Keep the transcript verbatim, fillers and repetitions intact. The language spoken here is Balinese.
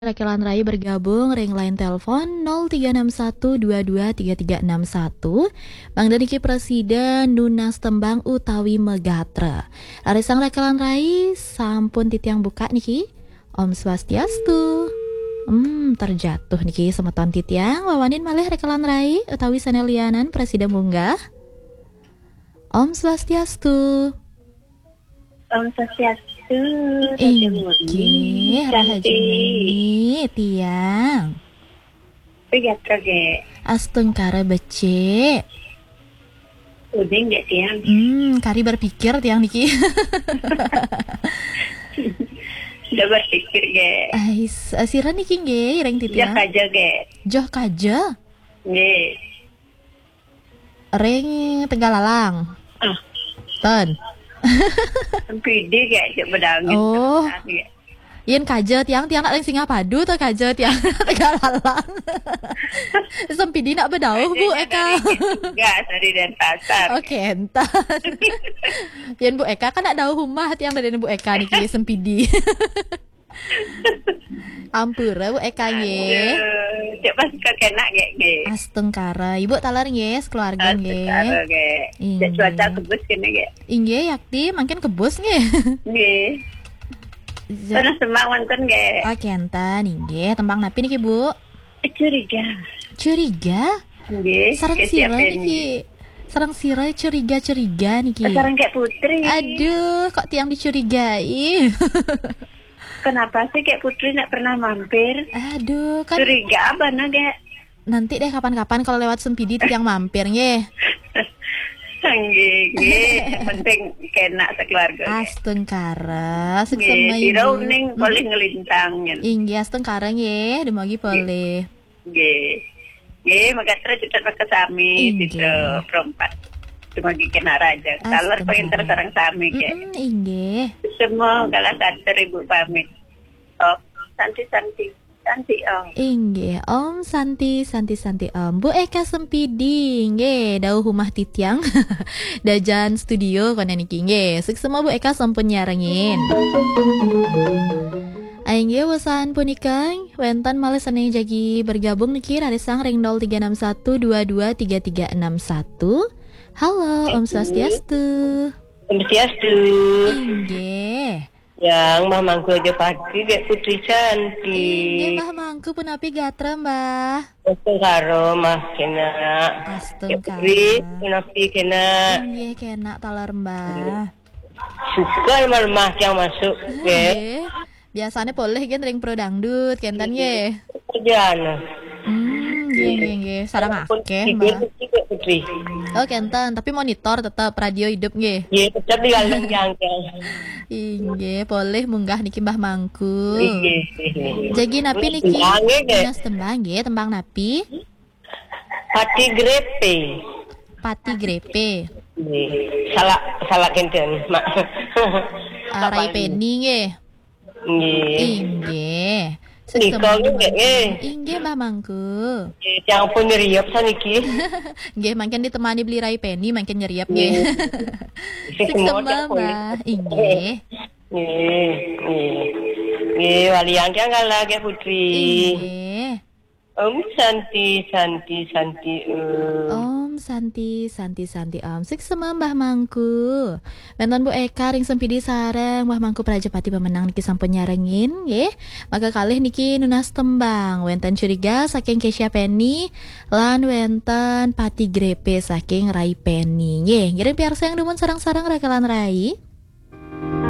Rakelan Rai bergabung ring line telepon nol tiga enam satu dua dua tiga tiga enam satu. Mangda niki prasida nunas tembang utawi magatra. Rarisang Rakelan Rai sampun titiang buka niki. Om Swastiastu. Hmm, terjatuh niki semeton titiang. Wawanin malih Rakelan Rai utawi sané lianan prasida munggah. Om Swastiastu. Om Swastiastu, Raja Murni. Inggih, Raja Murni, tiang. Piye gatra, Gek? Astungkara becik. Uning, Gek, tiang. Hmm, kari berpikir tiang niki. Sudah berpikir, Gek. Ais, eh, sira niki nggih, ring titiang. Joh kaja, Gek. Joh kaja? Nggih. Ring Tegalalang. Ah. Ten. Sempidi, Gek, cek bedangin. Oh. Kertas, Gek. Yen kaja tiang, tiang nak ring Singapadu to kaja tiang Tegalalang. Sempidi nak bedauh, Bu Eka. Dari Gas, dari Denpasar. Oh, kenten. Yen Bu Eka kan nak dauh umah tiang dari Bu Eka niki Sempidi. Ampura, Bu Eka, nggih. Aduh, cek pas kok enak, Gek, nggih. Astungkara. Ibu taler nggih, sekeluarga nggih. Astungkara, Gek. Cek cuaca kebus kene, Gek. Inggih, yakti, mangkin kebus nggih. Nggih. Ja- Panas semang wonten, Gek. Oh, kenten, inggih. Tembang napi niki, Bu? Curiga. Curiga? Nggih. Sareng sira niki. Sareng sira curiga-curiga niki. Sareng Kek Putri. Aduh, kok tiang dicurigai? Kenapa sih Kek Putri nggak pernah mampir? Aduh, kan. Curiga apa, nah, Gek? Nanti deh, kapan-kapan kalau lewat Sempidi tiang mampir nggih. Nggih, nggih. Penting kena sekeluarga, Gek. Astungkara, suksma. Nggih, sira uning polih ngelintang, nggih. Inggih, astungkara nggih, dumugi polih. Nggih. Nggih, mekaten cedhak mekasami, inggih. Sida perempat. Dumugi kena raja. Taler penginter sareng sami, Gek. Mm-mm, inggih. Semua kalah katur Ibu pamit. Oh, santi-santi. Santi, Om. Inggih, Om Santi, Santi, Santi, Om. Bu Eka Sempidi, nggih, dauh umah titiang. Dajan studio kono niki, nggih. Suksma Bu Eka sampun nyarengin. Inggih, wusan punika, wénten malih sané jagi bergabung niki, rarisang ring nol tiga enam satu dua dua tiga tiga enam satu. Halo, Om Swastiastu. Om Swastiastu. Inggih. Yang Mbah Mangku aja pagi, Gek Putri Cantik. Inggih, Mbah Mangku, punapi gatra, Mbah? Astungkara, Mbah, kenak. Astungkara. Gek Putri, punapi kenak? Inggih, kenak taler, Mbah. Suka lemah-lemah yang masuk, Gek. Nggih. Biasanya polih kan ring pro dangdut, kenten nggih. Kerjaan. Hmm, nggih, nggih, nggih. Sareng akeh, Mbah. Putri. Oh, kenten, tapi monitor tetap radio hidup nggih. Nggih, tetap di kandang jangkang. Inggih, polih munggah niki Mbah Mangku. Nggih, nggih. Jagi napi niki? Tembang nggih, Gek. Nunas tembang nggih, tembang napi? Pati Grepe. Pati Grepe. Nggih. Salah, salah kenten, Mak. Ah, Rai Peni nggih. Nggih. Inggih. Nika nggih, nggih. Inggih, Mbah Mangku. Nggih, tiang pun nyeriep saniki. Nggih, mangkin ditemani beli Rai Peni, mangkin nyeriep nggih. Nggih. Suksma, Mbah. Inggih. Nggih, nggih. Nggih, waliang tiang kala, Gek Putri. Inggih. Om Santi, Santi, Santi, Om. Om Santi, Santi, Santi, Om. Suksma Mbah Mangku. Wénten Bu Eka ring Sempidi sareng Mbah Mangku Prajapati pemenang niki sampun nyarengin, nggih. Maka kalih niki nunas tembang. Wénten Curiga saking Kesha Penny, lan wénten Pati Grepe saking Rai Penny. Nggih, ngiring piarsa yang dumun sareng-sareng Rakelan Rai.